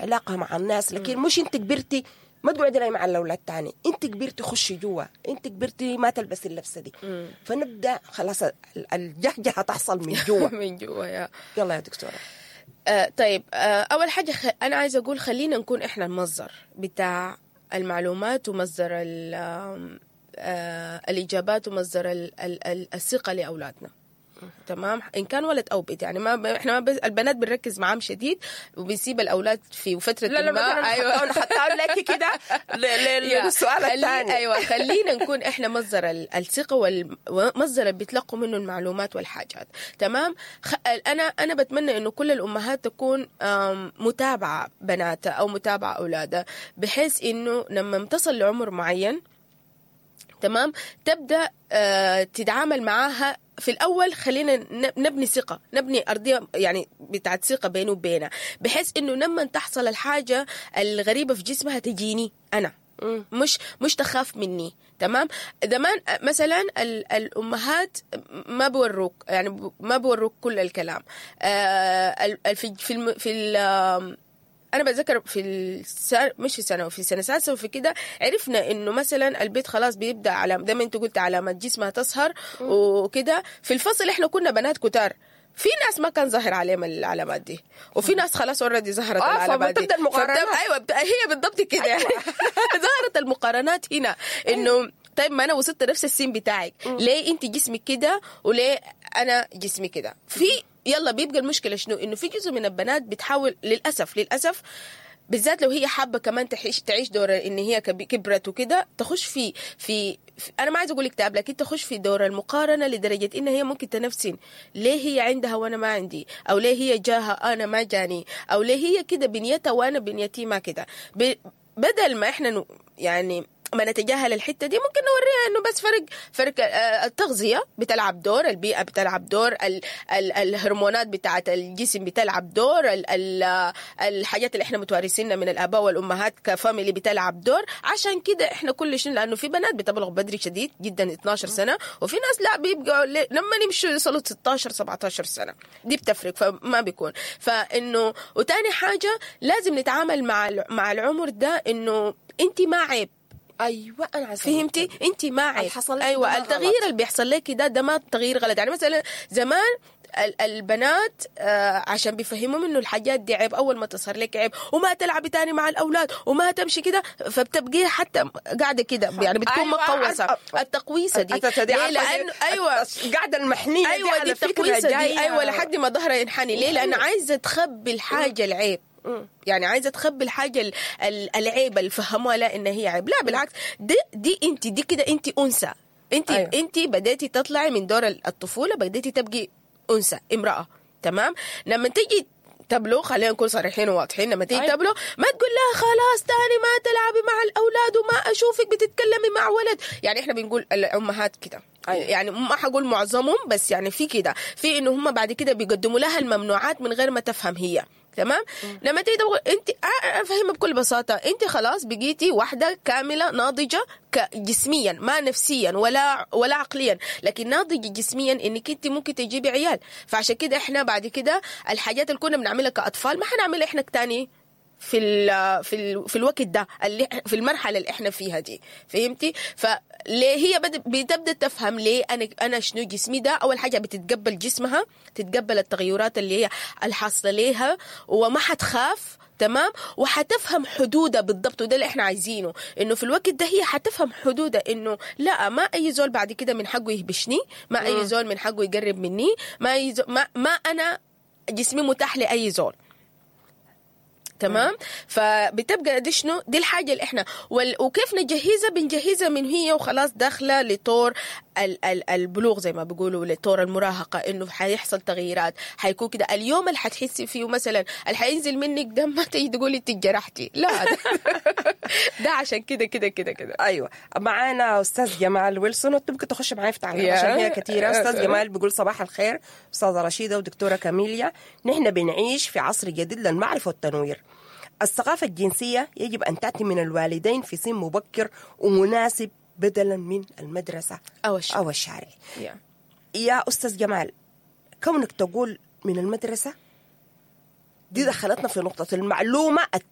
علاقة مع الناس. لكن مش انت كبرتي ما تقعدي لي مع الاولاد تاني، انت كبرتي خشي جوا، انت كبرتي ما تلبسي اللبسه دي. فنبدا خلاص الجهجهه تحصل من جوا. من جوا يا يلا يا دكتوره. طيب، اول حاجة انا عايزه اقول خلينا نكون احنا المصدر بتاع المعلومات ومصدر الاجابات ومصدر الثقة لاولادنا، تمام؟ ان كان ولد او بنت. يعني ما احنا ما بس البنات بنركز معاهم شديد وبنسيب الاولاد في فترة لا لا ما مثلا. ايوه، حتى لك كده للسؤال الثاني. ايوه، خلينا نكون احنا مصدر الثقة والمصدر اللي بيتلقوا منه المعلومات والحاجات، تمام؟ انا بتمنى انه كل الامهات تكون متابعه بناتها او متابعه اولادها، بحيث انه لما تصل لعمر معين، تمام، تبدا تتعامل معاها. في الاول خلينا نبني ثقه، نبني ارضية يعني بتاعت ثقة بينه وبينها، بحيث انه لما تحصل الحاجة الغريبة في جسمها تجيني انا، مش تخاف مني، تمام؟ زمان مثلا الامهات ما بوروك، يعني ما بوروك كل الكلام. في في الم في ال انا بتذكر في السنة، مش في سنه، في سنة سادسة وفي كده، عرفنا انه مثلا البت خلاص بيبدا على زي ما انت قلت علامات جسمها تظهر وكده. في الفصل احنا كنا بنات كتار، في ناس ما كان ظاهر عليهم العلامات دي وفي ناس خلاص already ظهرت العلامات دي. فبتبدأ المقارنات. ايوه، هي بالضبط كده. أيوة. ظهرت المقارنات هنا انه طيب ما انا وصلت نفس السن بتاعك، ليه انت جسمك كده وليه انا جسمي كده؟ في يلا بيبقى المشكلة شنو؟ انه في جزء من البنات بتحاول للاسف للاسف، بالذات لو هي حابة كمان تعيش دور ان هي كبرت وكده، تخش في انا ما عايزه اقول اكتئاب، لكن تخش في دور المقارنة لدرجة ان هي ممكن تنفسن: ليه هي عندها وانا ما عندي؟ او ليه هي جاها انا ما جاني؟ او ليه هي كده بنيتها وانا بنيتي ما كده؟ بدل ما احنا يعني ما نتجاهل الحتة دي، ممكن نوريها انه بس فرق التغذية بتلعب دور، البيئة بتلعب دور، ال ال الهرمونات بتاعت الجسم بتلعب دور، ال ال الحاجات اللي احنا متوارثينها من الاباء والامهات ك family بتلعب دور. عشان كده احنا كل شيء، لانه في بنات بتبلغ بدري شديد جدا 12 سنه، وفي ناس لا، بيبقوا لما يمشوا يوصلوا 16 17 سنه، دي بتفرق. فما بيكون فانه وتاني حاجة لازم نتعامل مع العمر ده انه انت ما عيب. ايوه، انا عايزه فهمتي؟ انت ما عيب. حصل لك ايوه. ده التغيير غلط. اللي بيحصل لك ده ما تغيير غلط. يعني مثلا زمان البنات عشان بيفهموا انه الحاجات دي عيب، اول ما تظهر لك عيب وما تلعبي تاني مع الاولاد وما تمشي كده، فبتبقي حتى قاعدة كده، يعني بتكون مقوسه. التقويسه دي دي ليه؟ عارفة لانه ايوه القاعدة المحنيه دي. ايوه، على دي فكرة التقويسه دي. ايوه، لحد ما ظهرها ينحني. ليه؟ لان عايزه تخبي الحاجة العيب، يعني عايزه تخبي الحاجة العيب اللي فهموها لا ان هي عيب. لا بالعكس، دي انت دي كده انت انثى انت. انت بديتي تطلعي من دور الطفوله، بديتي تبقي انثى، امراه، تمام؟ لما تيجي تبلغ، خلينا نكون صريحين وواضحين، لما تيجي تبلغ ما تقول لها خلاص تاني ما تلعبي مع الاولاد وما اشوفك بتتكلمي مع ولد. يعني احنا بنقول الامهات كده، يعني ما حقول معظمهم، بس يعني في كده، في انه هم بعد كده بيقدموا لها الممنوعات من غير ما تفهم هي، تمام؟ لما تيجي تقول انت افهمها بكل بساطه: انت خلاص بقيتي واحدة كاملة ناضجة جسميا، ما نفسيا ولا عقليا، لكن ناضجة جسميا، انك انت ممكن تجيبي عيال. فعشان كده احنا بعد كده الحاجات اللي كنا بنعملها كاطفال ما حنعملها احنا تاني في الوقت ده اللي في المرحلة اللي احنا فيها دي، فهمتي؟ فليه هي بتبدا تفهم ليه انا شنو جسمي ده. اول حاجة بتتقبل جسمها، تتقبل التغيرات اللي هي الحاصلة ليها وما حتخاف، تمام؟ وحتفهم حدودها بالضبط، وده اللي احنا عايزينه، انه في الوقت ده هي حتفهم حدودها، انه لا، ما اي زول بعد كده من حقه يهبشني، ما اي زول من حقه يقرب مني، ما اي زول ما انا جسمي متاح لاي زول، تمام؟ فبتبقى دي شنو؟ دي الحاجة اللي احنا وكيف نجهزها؟ بنجهزها من هي وخلاص داخله لطور البلوغ زي ما بيقولوا، لطور المراهقه، انه حيحصل تغييرات، حيكون كده. اليوم اللي حتحسي فيه مثلا اللي حينزل منك دم، ما تيجي تقولي انت اتجرحتي، لا، ده عشان كده كده كده كده. ايوه، معانا استاذ جمال ويلسون، انت ممكن تخش معايا في تعليق عشان هي كثيره. استاذ جمال بيقول: صباح الخير استاذه رشيده ودكتوره كاميليا، نحن بنعيش في عصر جديد للمعرفة والتنوير. الثقافة الجنسية يجب ان تاتي من الوالدين في سن مبكر ومناسب بدلا من المدرسة او الشارع. او الشارع. يا استاذ جمال، كونك تقول من المدرسة دي دخلتنا في نقطة المعلومة.